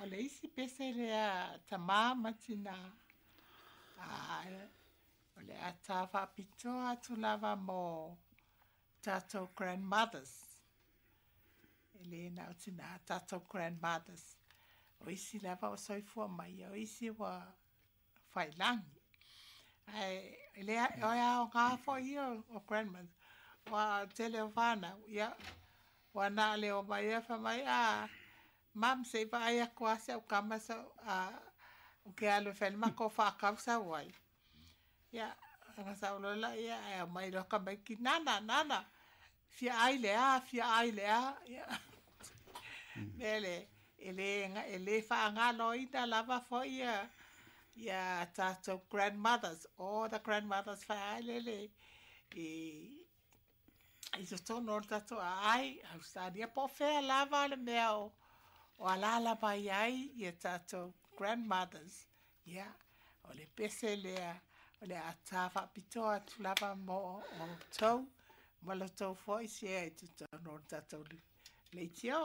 Ia, o le isi pese lea a tamā ma tinā, o le a ta faapitoa atu lava mo tatou grandmothers. E le na o tinā, tatou grandmothers. O isi lava o soifua mai, o isi ua failagi. Ae e le o aoga foi ia o grandmothers. Ua tele o fanau, ia, ua na o le omai ia fai mai, "A, Mum, se i vaai atu lava si au tama ou te alu e fai le matou faatau sau ai." Ia, ona sau loa laia ae aumai loa tamaiti, "Nana, Nana, fia ai le a, fia ai le a." Ia, mea lea, e le faagaloina lava foi ia tatou grandmothers, all the grandmothers failele i totonu o le tatou aai, Ausetalia po o fea lava le mea o alala mai ai ia tatou grandmothers. Ia, o le pese lea o le a ta faapitoa atu lava mo outou ma lo outou foi sea i totonu o le tatou leitio.